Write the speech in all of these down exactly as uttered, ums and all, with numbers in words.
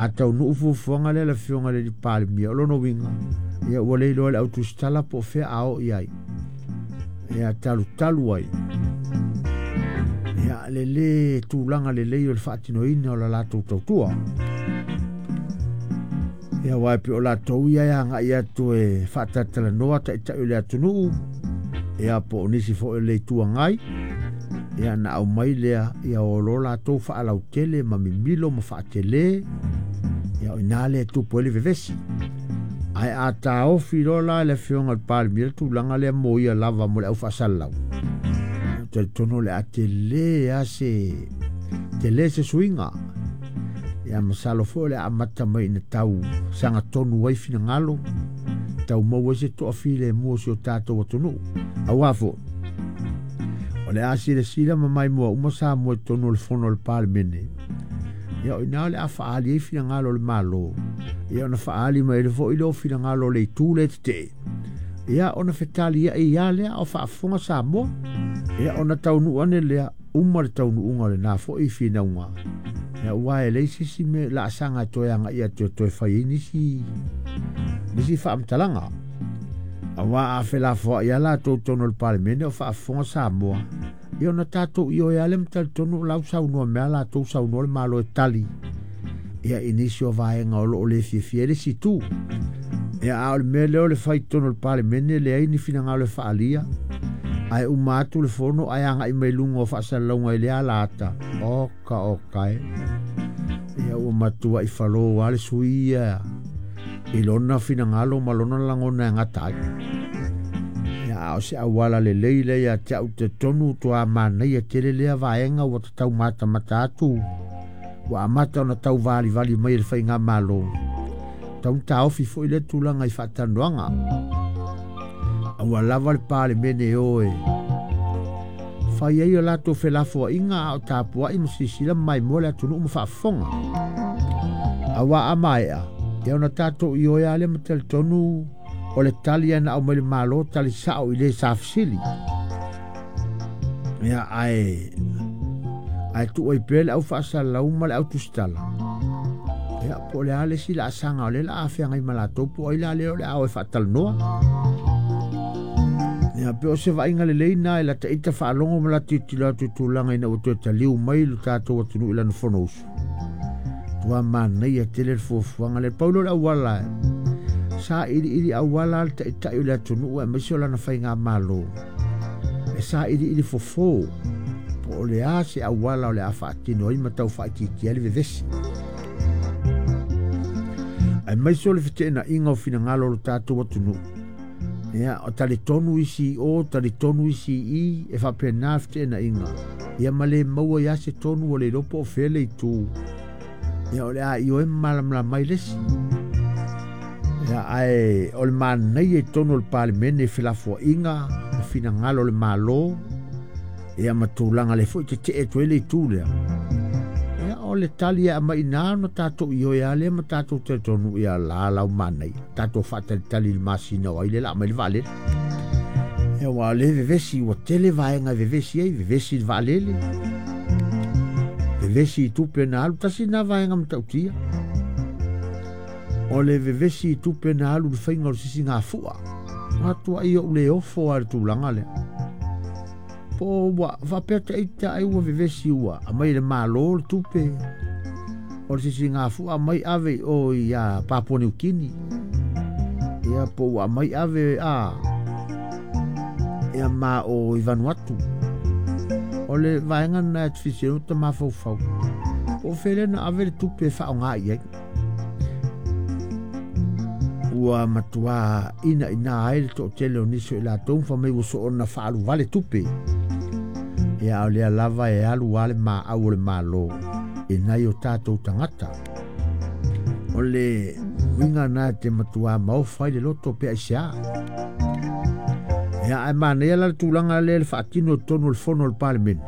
A taunuu fuafuaga lea le afioga i le Palemia, o lona uiga ia ua le iloa e le autusitala po o fea a oo i ai, ia talutalu ai ia le lē tulaga lelei o le faatinoina o la latou tautua. Ia uae pe o latou ia e agai atu e faatatalanoa taitai o le atunuu, ia po o nisi foi o le Itu Agai, ia na aumai lea ia o lo latou faalautele ma mimilo ma faatelē, ia o ina lea e tupu ai le vevesi. Ae a taofi loa la le afioga i le Palemia le tulaga lea mo ia lava mo le aufaasalalau, talitonu o le a telē a se telē se suiga. Ia masalo foi o le a amata mai ina tau sagatonu ai finagalo, tau maua ai se toafilemu o si o tatou atunuu. Auā foi o le a silasila ma maimoa uma Samoa i totonu o le fono a le Palemene, ia o ina o le a faaali ai finagalo o le Malo, ia ona faaali mai ai foi lea o finagalo o le itu lea tetee, ia ona fetaliai ia lea o faafofoga Samoa, ia ona taunuu ane lea uma le taunuuga o lena foi finauga. Ia ua e leai se isi mea laasaga e toe agai atu e toe fai ai nisi nisi faamatalaga. Auā a felafoai lava latou i totonu o le Palemene o faafofoga Samoa, ia ona tatou ioe lava lea ma talitonu o la ua saunoa mai lava latou, saunoa le Malo e tali ia i nisi o vaega o lo o le fiafia ai le isi itu. Ia a o le mea lea o le fai i totonu o le Palemene, leai ni finagalo e faaalia, ae uma atu le fono ae agai mai luga o faasalalauga i le ala ata, oka oka e. Ia ua matuai falō lava le sui ia i lona finagalo ma lona lagona e gata ai. Ia a o se auala lelei lea ia te au talitonu toa manaia tele lea vaega ua tatau matamata atu, ua amata ona tau valivali mai e le faigamalo. Tau taofi foi lea tulaga i faatalanoaga. Aua lava le Palemene o e fai ai o latou felafoaiga a o tapuai ma silasila ma maimoa le atunuu ma faafofoga. Auā a maea, ia ona tatou ioe lava lea ma talitonu o le tali na aumai le Malo, tali sao i le sa fesili. Ia ae ae tuu ai pea le aufaasalalau ma le autusitala. Ia po o le a le isi laasaga o lea o le a feagai ma latou, po o ai la lea o le a o e faatalanoa. Ia pe o se vaaiga lelei na e lata ita faalogo ma lata tilotilo atu i tulaga ina ua toe taliu mai lo tatou atunuu i lana fonousu. Ua manaia tele le fuafuaga lea. Pau lea o le auala sa iliili auala le taitai o le atunuu aemaise o lana faigamalo, e sa iliili fofo po o le a se auala o le a faatino ai ma tau faaitiitia ai le vevesi, aemaise o le feteenaiga o finagalo o lo tatou atunuu. Ia o talitonu isi i o, talitonu isi i i, e faapena le feteenaiga, ia ma le maua ai lava se tonu ua le iloa po o fea le itu. Ia o le a ioe ma malamalama ai le isi. Ia ae o le manaia i totonu o le Palemene i felafoaiga ma finagalo o le Malo, ia ma tulaga le foi tetee atu ai le itu lea. Ia o le tali e aumai i ina ona tatou ioe lava lea ma tatou talitonu, ia la lau manaia, tatou faatalitali i le masina o ai lea o le a aumai le vaalele. Ia ua o lea e vevesi, ua tele vaega e vevesi ai, vevesi i le vaalele, vevesi i tupe na alu, tasi lena vaega matautia. O le vevesi i tupe na alu i le faiga o le sisigafua. Atuai ou le ofo lava i le tulaga lea. Po ua faapea ita ai ua vevesi ua aumai e le Malo le tupe o le sisigafua, aumai ave i o ia Papua Niu Kini. Ia po ua aumai ave a ia ma o i Vanuatu. O le vaega lena e te fesilisili ai o ta mafaufau, po o fea lea na ave le tupe e faaaoga i ai. Ua matua ina ina ai le toatele o nisi o i latou ma fai mai ua soona faaluvale tupe. Ia a o lea lava e alu lava le maau o le Malo i nai o tatou tagata. O le uiga lena e te matua maofa ai le loto pe aisea. Ia ae manaia la le tulaga lea le faatino i totonu o le fono a le Palemene,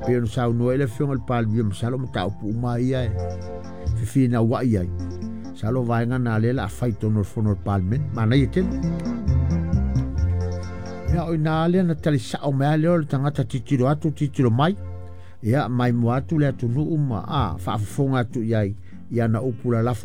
pei ona saunoa ai le afioga i le Palemia, masalo mataupu uma ia e fefinauai ai. Masalo vaega na lea o le a fai i totonu o le fono a le Palemene, manaia tele. Ia o ina lea na tali sao mai lava lea o le tagata tilotilo atu tilotilo mai, ia maimoa atu le atunuu ma a faafofoga atu i ai, Ia na upu lalafo.